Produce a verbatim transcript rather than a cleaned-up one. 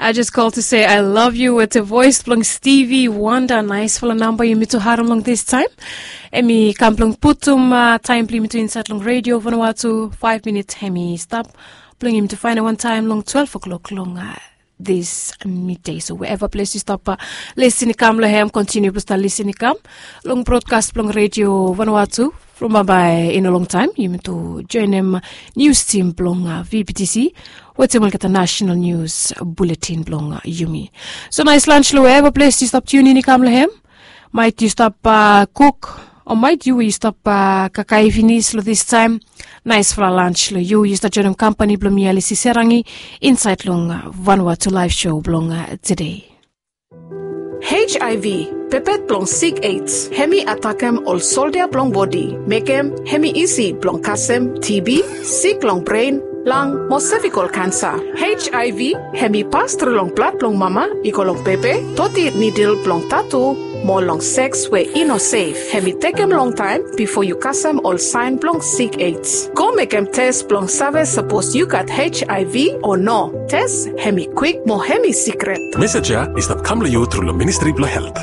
I just call to say I love you with the voice blong Stevie Wonder. Nice fala namba yumi tu harum long this time. Emi kam blong putum uh, time blong yumi tu inside long radio Vanuatu five minutes hemi stop. Blong yumi tu find one time long twelve o'clock long uh, this midday. So wherever place you stop uh, listen kam lo hem, continue plus listen kam long broadcast blong radio Vanuatu. From bye bye in a long time. Yumi tu join him news team blong uh, V B T C. Wetem olgeta national news bulletin blong uh, yumi. So nice lunch lo wherever place you stop tune in kam lo hem. Might you stop uh, cook or might you you stop uh, kakai finis lo this time. Nice fala lunch lo you you start join him company blong mi Alisi Serangi inside long uh, Vanuatu live show blong uh, today. H I V, pepet blong sik AIDS, hemi atakem ol soldia blong bodi, mekem hemi isi blong kasem T B, sik long bren, lang, mo cervical cancer. H I V hemi pas tru long blad blong mama i go long pepe, toti nidil blong tatu, mo long seks we i no sef. Hemi tekem long taem bifo yu kasem ol saen blong sik AIDS. Go mekem tes blong save sapos yu gat H I V o no. Tes hemi kwik mo hemi sikret. Message ya i stap kam lo yu tru lo Ministry blo Health.